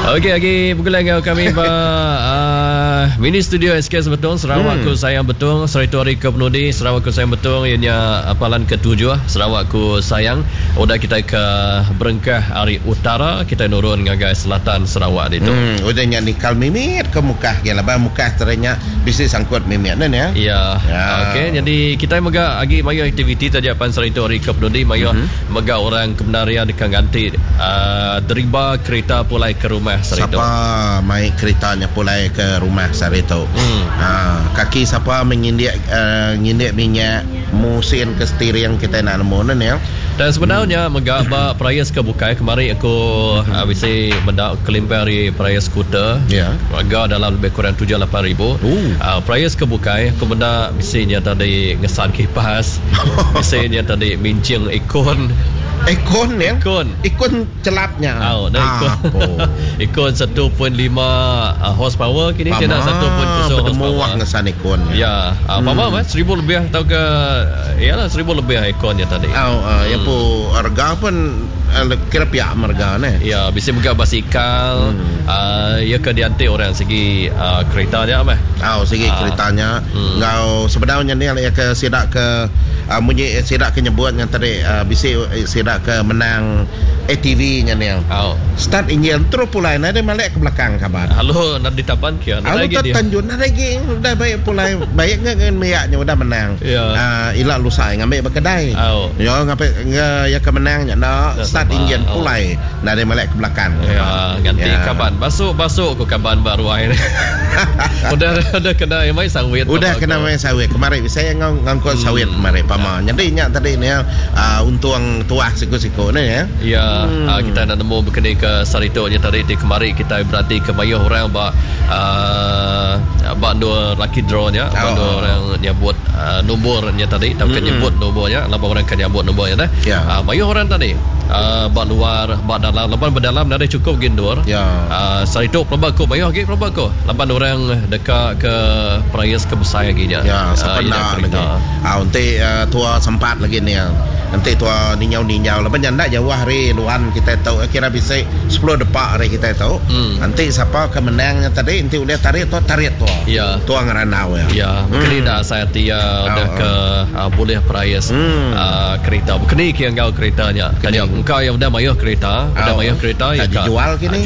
Okey agi begulai enggau kami ba uh, mini studio SK Sebetung Sarawak Ku Sayang Betung saritu hari ke penudi Sarawak Ku Sayang Betung iya nya palan ke tujuh Sarawak Ku Sayang udah kitai ke berengkah ari utara kitai nurun ngagai selatan Sarawak ditu. Hmm udah nya nikal mimit ke Mukah agi laban Mukah tadi nya bisi sangkut mimit ne nya. Ya. Okey nyadi kitai mega agi mayuh aktiviti taja pan saritu hari ke penudi mayuh Mega orang ke bendar iya deka nganti deriba kerita pulai ke rumah sehari tu. Sapa mai kerita nya pulai ke rumah sehari tu? Kaki sapa meh ngindik ngindik minyak musin ke steering kitai enda nemu ne nih. Tang sebedau nya mega ba perais ke bukai kemari aku bisi meda kelimpah ari perais skuter rega dalam lebih kurang 7-8 ribu. Perais ke bukai aku meda bisi nya tadi ngesan kipas. Bisi nya tadi minching ikon. Ikon ya? Ikon. Ikon celap nya. Au, dah ikon. Ikon 1.5 horsepower kini ti enda 1.0 horsepower. Ngesan ikon. Ya, pama meh 1000 lebih tauka ya lah 1000 lebih ikon nya tadi. Au, ya pu rega pun kira pia meh rega neh. Ya, bisi mega basikal. Iya ke dianti orang sigi kerita nya meh. Au sigi kerita nya enggau sebedau nya ni iya ke sida ke munyi sida ke nyebut nya tadi bisi sida ke menang ATV nya ni. Au. Start enjin terus pulai nadai malik ke belakang kaban. Lalu enda ditaban kia nadai agi dia. Tanjun nadai agi udah baik pulai baik ngan nembiak nya udah menang. Ila lusai ngambi ba kedai. Au. Yo ngambi iya ke menang nya enda start enjin pulai. Nadai malik ke belakang. Ya, nganti ya. Kaban. Basu basu ku kaban ba ruai. Udah udah kena mai sawit. Udah kena mai sawit. Kemari saya ngau ngangkut sawit kemari pama. Ya. Jadi nya tadi ni uh, untung tuah siku-siku ni ya. Ya, uh, kita nak nemu bekeni ke saritu nya tadi ti kemari kita berati ke mayuh orang ba uh, ba endur lucky draw nya, ba endur oh. orang nyebut uh, nombor nya tadi tauka nyebut nombor nya laban orang ke nyabut nombor nya dah. Ya. Uh, mayuh orang tadi. Ba luar ba dalam laban ba dalam nadai chukup agi endur. Sehari tu pelaba ku mayuh agi pelaba ku laban orang deka ke perais ke besai agi nya. Ya sapa enda lagi. Au enti tua sempat lagi nih enti tua ninjau ninjau laban nya enda jauh ari luan kitai tu kira bisi sepuluh depa ari kitai tu. Enti sapa ke menang nya tadi enti ulih tarit tua tarit tua. Tua ngerandau iya. Ya kini enda asai ati iya udah ke bulih perais kerita. Bekeni ke enggau kerita nya. Tanya engka iya udah mayuh kerita, udah mayuh kerita iya ka jual kini.